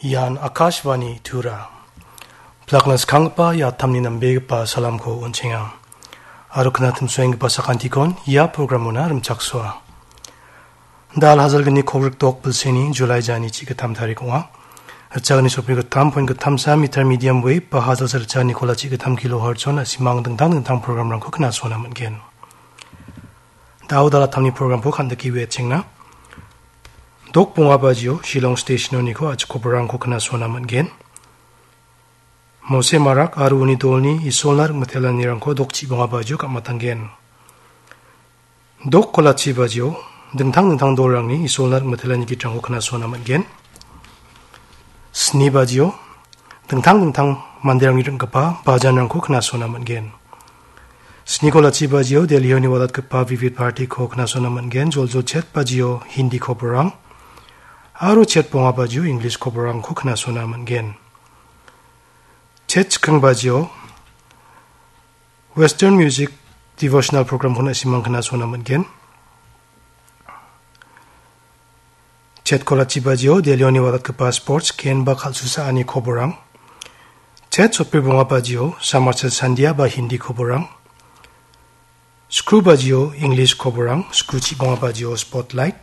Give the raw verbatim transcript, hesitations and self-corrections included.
Ian Akashvani Tura. Plakna skanggipa ia tamni nambegipa salamko on·chenga. Aro knatimsoenggipa sakantikon ia programona rimchaksoa. Da Al Hajalgni Kobrik dok bilseni July jani chi gitam tarik ong·a. Ritchagni sopri gitam point gitamsa meter medium wave ba hajalsa ritchagni kola chi gitam kilohertz on a·simang dingtang dingtang programrangko knasona man·gen. Da·o dalatamni programko kandike wetchengna. Dok bonga bajio Shillong Station-oniko a·chik koborangko knasona man·gen. Mose Marak aro uni dolni Isolna rik mitelanirangko dok chi bonga bajio gam·atanggen. Dok kolachi bajio dingtang dingtang dolrangni Isolna rik mitelani gitrangko knasona man·gen. Sni bajio dingtang dingtang manderangni ring·gipa bajanrangko knasona man·gen. Sni kolachi bajio Delhi-oni walatgipa Vivid Bharati-ko knasona man·gen. Joljol chet bajio Hindi koborang aro chet bonga bajio English koborangko knasona man·gen. Chet chikking bajio Western Music Devotional Program-ko na·simang knasona man·gen. Chet kolachi bajio Delhi-oni walatgipa sports, ken ba kal·susaani koborang. Chet sotbri bonga bajio Samachal Sandia ba Hindi koborang. Skru bajio English koborang, skru chi bonga bajio Spotlight.